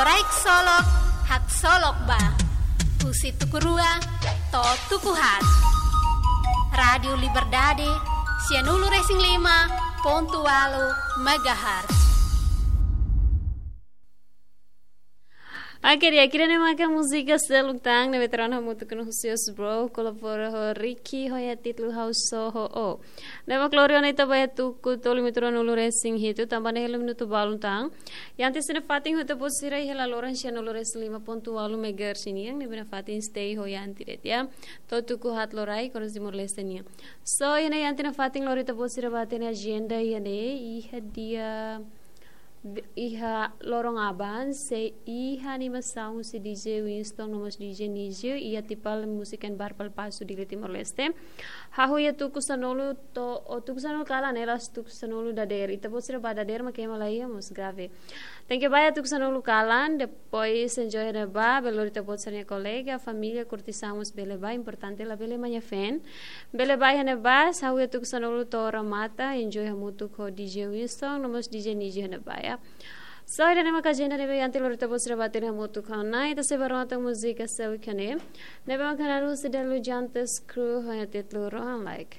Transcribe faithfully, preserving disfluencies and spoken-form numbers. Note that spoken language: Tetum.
Loraik solok, haksolok ba. Husi tuku rua to'o tuku haat. Rádiu Liberdade, sianulu-resin-lima pontu ualu megahertz. Oke, di'ak, ida-ne'e maka múzika seluk tan ne'ebé troan hamutuk ho Husius Bro, kolabora ho Ricky, ho iha títulu Ha'u Só ho Ó. Ne'ebé mak lori ona ita ba iha tuku tolu minutu ruanulu-resin-hitu, tanba ne'e hela minutu balun tan. Iha ita-nia fatin ho ita-boot sira iha laloran sianulu-resin-lima pontu ualu megahertz nian, ne'ebé nafatin stay ho iha ita de'it, ya. To'o tuku haat loraik, oras Timor-Leste nian. So, iha ita-nia fatin lori ita-boot sira ba iha agenda iha ne'e, iha dia, iha loron aban, sei iha animasaun husi D J Winston no mós D J Nizio, iha Tipal Music and Bar Palapasu, Dili, Timor-Leste. Hahú iha tuku sanulu to'o, o tuku sanulu kalan, ne'e la'ós tuku sanulu dadeer. Ita-boot sira ba dadeer mak ema la iha, mós grave. Tenke ba iha tuku sanulu kalan, depois enjoy iha ne'ebá, bele lori ita-boot sira-nia kolega, família, kurtisaun mós bele ba, importante labele manha feen. Bele ba iha ne'ebá, hahú iha tuku sanulu to'o remata, enjoy hamutuk ho D J Winston, no mós D J Nizio iha ne'ebá, ya. So, ida-ne'e maka agenda ne'ebé ita lori ita-boot sira ba iha ne'e hamutuk ho ona, ita sei ba rona tan múzika seluk iha ne'e. Ne'ebé maka narus de Lujantes Crew, ho iha títulu Rohan Like.